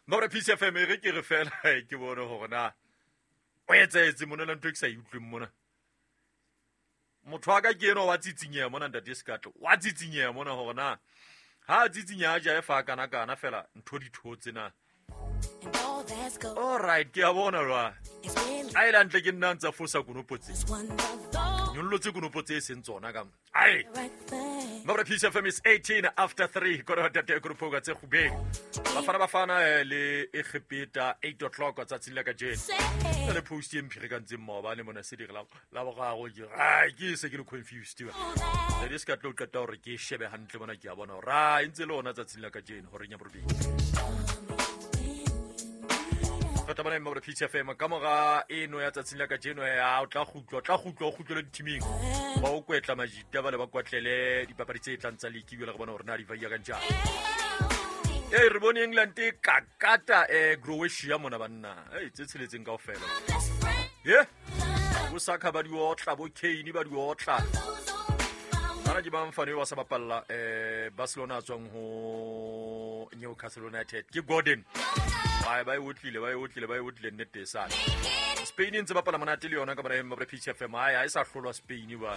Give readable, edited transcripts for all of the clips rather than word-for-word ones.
Mabra Peace FM e re ke re fela ke bone hore na o etsahetse mona la ntho e ke sa e utlweng mona. Motho wa ka ke enwa wa tsitsinyeha mona ntate Sekatlo. Wa tsitsinyeha mona hore na ha a tsitsinyeha a jae fa kana kana fela ntho di thotse na. All right, ke a bona jwale. A ile hantle ke nna ntsa fosa konopo tse. Nyollotse konopo tse e seng tsona ka. Ai. Mabra Peace FM is 18 after 3 kore tate grupo tse gubeng. Bafana Bafana le Egepeta 8 o'clock tsatsing la kajeno. Le post e mphirekantseng maobane mona se dire la la boraro ke ai ke se ke le confused ba. Le se ka tlo qeta hore ke shebe hantle mona ke a bona hore a e ntse le ona tsatsing la kajeno horeng ya borobedi. Re tla bona Mabra Peace FM ka mora eno ya tsatsing la kajeno ya o tla kgutlwa o tla kgutlwa o kgutlele ditiming ba o kwetla majita ba le ba kwatlele dipapadi tse tlang tsa league ebile re bona hore na di vaia ka njang. Ee re bone England e kakata Croatia mona banna ei tse tsheletseng kaofela. Ye bo Saka ba di otla bo Kane ba di otla. Bana ke bang fane wa sa bapalla Barcelona a tswang ho Newcastle United ke Gordon. Ba ba e otlile ba e otlile ba e otlile nnete e sale. Spain e ntse bapala monate le yona ka bona Mabra Peace FM ai ha e sa hlolwa Spain ba.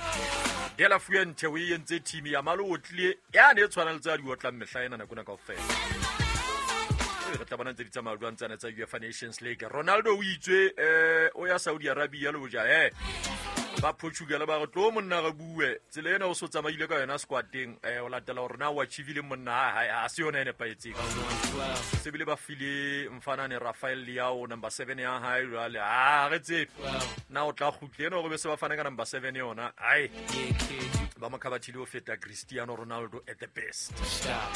De La Fuente o e entse team ya malo otlile ya ne e tshwana le tsa di otlang mehla ena nako ena kaofela. Re tla bona ntse di tsamaya jwang tsana tsa UEFA Nations League. Ronaldo o itswe o ya Saudi Arabia le hoja ba Portugal ba re tlo monna re bue tsela ena o so tsamaile ka yona squadeng o latela hore na o achievile monna ha se yona e nepahetseng. Se bile ba file mfanane Rafael Leao number 7 ya hae jwale a re tsebe na o tla kgutle ena hore be se ba fane ka number 7 yona ai ba mo khabathile ho feta Cristiano Ronaldo at the best.